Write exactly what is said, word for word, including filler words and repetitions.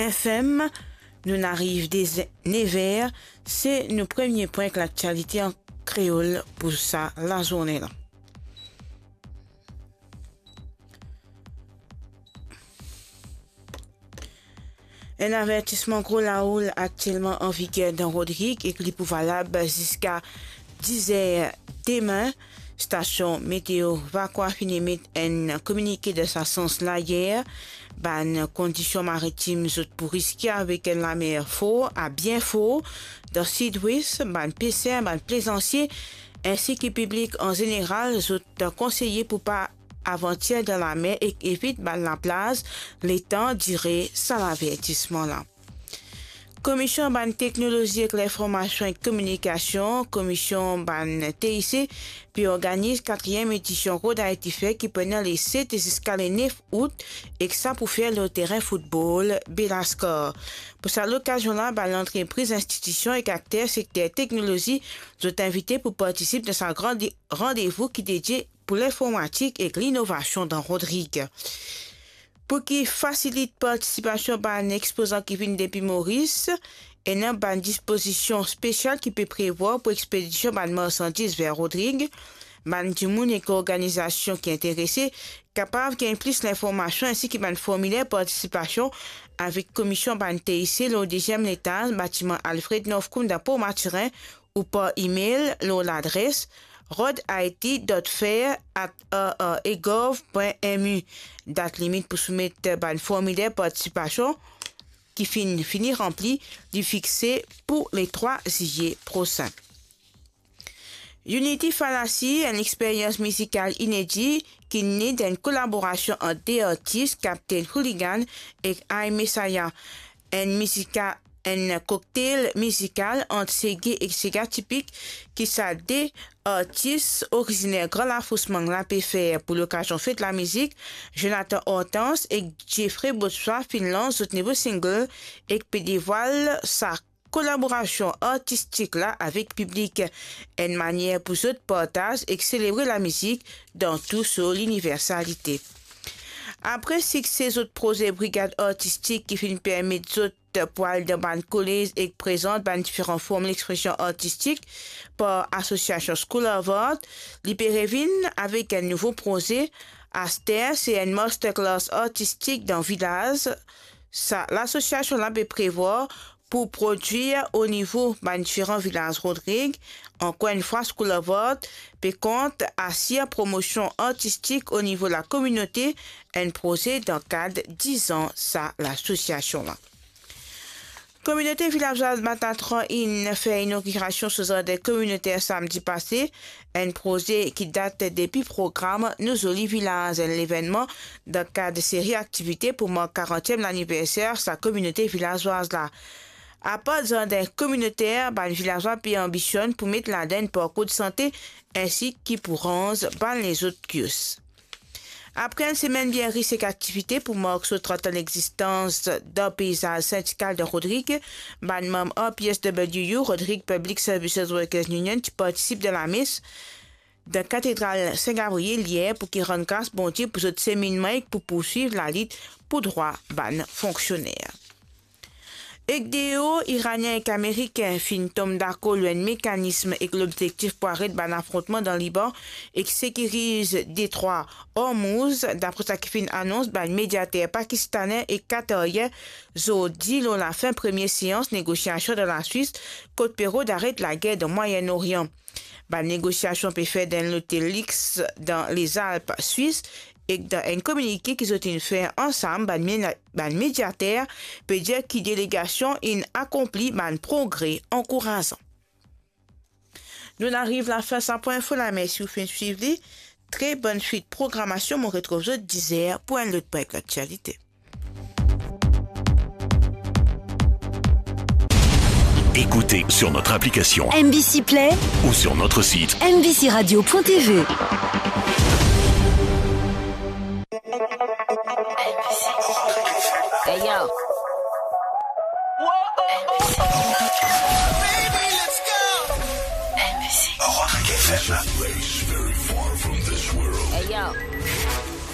F M. Nou'nn ariv de nev er, se nou premie pwin ek laktialite an kreol pou sa lazourne la. Enn avertisman gro laoul aktielman an viger dan Rodrig ek li pou valab ziska diz er demin. Stasion Meteo Vacoas finn emet enn kominike dan sa sans la yer. Bann kondision maritim zot pou riske avek enn lamer for a bien for dan Sidwes. Bann peser, bann plezansie, ensi ki piblik an zeneral, zot konseye pou pa avantir dan lamer ek evit bann laplaz letan dire sa lavertisman la. Komisyon bann teknolozi ek linformasion ek kominikasion, Komisyon bann T I C, pe organiz katriem edision Road Haiti Fair ki pou ena le set ziska le nef out, ek sa pou fer lor terin foutbol Belascar. Pou sa lokazion la, bann lantrepriz, institision ek akter sekter teknolozi, zot invite pou partisip dan sa gran de-, randevou ki dedie pou linformatik ek linovasion dan Rodrig. Pou ki fasilit partisipasion bann expozan ki vinn depi Moris, ena bann dispozision spesial ki pe prevwar pou expedision bann marsandiz ver Rodrig. Bann dimoun ek organizasion ki interese kapav gagn plis linformasion ensi ki bann formiler partisipasion avek Komisyon bann T I C lor deziem letaz batiman Alfred Northcombe dan Port Mathurin ou par email lor ladres road haiti dot fair at r r a gov pwin m u. Dat limit pou soumet bann formiler partisipasion ki finn fini ranpli, li fixe pou le trwa ziye prosin. Unity Fallacy, enn experyans mizikal inedi ki ne dan enn kolaborasion ant de artis, Captain Hooligan ek I Messiah. Enn mizika-, enn cocktail mizikal ant sege ek sega tipik ki sa de artis oriziner Gran Lafos Mang la pe fer pou lokazion fet lamizik. Jonathan Hortense ek Jeffrey Botswa finn lans zot nouvo single ek pe devwal sa kolaborasion artistik la avek piblik, enn manier pou zot partaz ek selebre lamizik dan tou so liniversalite. Apre sikse zot proze Brigad Artistik ki finn permet zot pou al dan bann kolez ek prezant bann diferan form lexpresion artistik par asosiasion School of Art, li pe revinn avek enn nouvo proze. Aster, se enn masterclass artistik dan vilaz. Sa lasosiasion la pe prevwar pou prodwir o nivo bann diferan vilaz Rodrig. Ankor enn fwa, School of Art pe kont asir promosion artistik o nivo lakominote, enn proze dan kad diz an sa lasosiasion la. Kominote vilazwaz Batatran inn fer inogirasion so zardin kominoter samdi pase, enn proze ki dat depi program Nou Zoli Vilaz, enn levennman dan kad seri aktivite pou mark karantiem laniverser sa kominote vilazwaz la. Apar zardin kominoter, bann vilazwa pe anbisionn pou met ladan enn parkour de sante ensi ki pou ranz bann lezot kios. Apre enn semenn bien ris ek aktivite pou mark so trant an lexistans dan peizaz sindikal dan Rodrig, bann manm R P S W U, Rodrig Public Services Workers Union, ti partisip dan lames dan Katedral Sin Gavriel yer pou ki rann gras Bondie pou zot seminnman ek pou pourswiv lalit pou drwa bann fonksioner. Ek de o, Iranien ek Amerikin finn tom dakor lor enn mekanism ek lobzektif pou aret bann afrontman dan Liban ek sekiriz detrwa Hormuz, dapre sa ki finn anons bann mediater pakistanen ek katarien zordi lor lafin premie seans negosiasion dan Laswis, kot pe rod aret lager dan Mwayen Orian. Bann negosiasion pe fer dan enn lotel lix dan Lezalp Swis, ek dan enn kominike ki zot inn fer ansam, bann mena-, bann mediater pe dir ki delegasion inn akonpli bann progre ankourazan. Nou'nn ariv lafin sa pwin info la, mersi ou finn swiv li. Tre bonn swit programasion, mo retrouv zot diz er pou enn lot pwin ek laktialite. Écoutez sur notre application M B C Play ou sur notre site M B C radio point T V. Hey, yo. Rodrigue F M. Hey, yo.